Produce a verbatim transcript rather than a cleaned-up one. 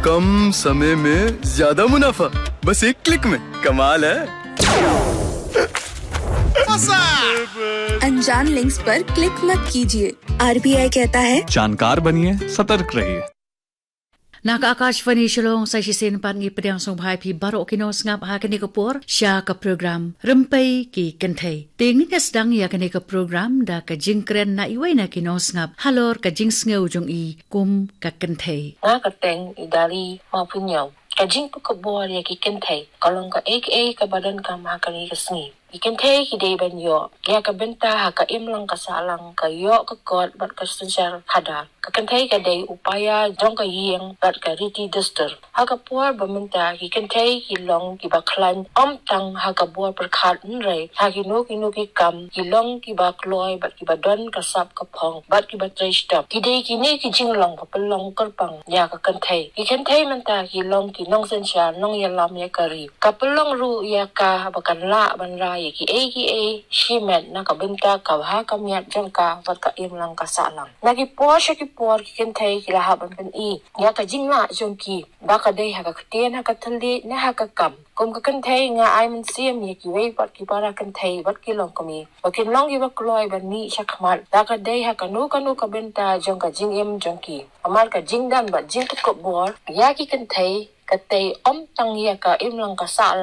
कम समय में ज्यादा मुनाफा, बस एक क्लिक में। कमाल है। अनजान लिंक्स पर क्लिक मत कीजिए। आरबीआई कहता है, जानकार बनिए, सतर्क रहिए। Na ka Akashvani Shillong sa shisien pat ngi pdiang sngewbha ïa phi baroh ki nongsngap ha kane ka por sha ka program Rympei ki Kynthei. Te ngin ïa sdang ïa kane ka program da ka jingkren na iwei na ki nongsngap halor ka jingsngew jong i kum ka kynthei. Nga ka kyrteng i Dari Mawphynñiaw. Ka jingpynkupbor ïa ki kynthei ka long kaei kaei kaba donkam ha kane ka sngi. Ki kynthei ki dei ban ïoh ïa ka bynta ha ka imlang ka sahlang, ka ïoh ka kot bad ka synshar khadar. Ka kynthei ka dei u paia jong ka ïing bad ka riti dustur. Ha ka por ba mynta ki kynthei ki long kiba khlaiñ ym tang ha ka bor pyrkhat, hynrei ha kino kino ki kam ki long kiba kloi bad kiba don ka sap ka phong bad kiba trei shitom. Ki dei kine ki jinglong ba pynlong kyrpang ïa ka kynthei. Ki kynthei mynta ki long ki nongsynshar, nongïalam ïa ka ri. Ka pynlong ruh ïa ka ba kan lah ban rai ïa kiei kiei shimet na ka bynta ka bha ka miat jong ka bad ka imlang ka sahlang. Na ki por sha ki por ki kynthei ki la hap ban pyni ïa ka jinglah jong ki, ba ka dei ha ka ktien, ha ka thylliej ne ha ka kam. Kum ka kynthei nga ai mynsiem ïa kiwei pat ki para kynthei bad ki longkmie ba kin long kiba kloi ban mih shakhmat, ba ka dei ha kano kano ka bynta jong ka jingim jong ki. Namar ka jingdon bad jingpynkupbor ïa ki kynthei ka tei ym tang ïa ka imlang ka sahlang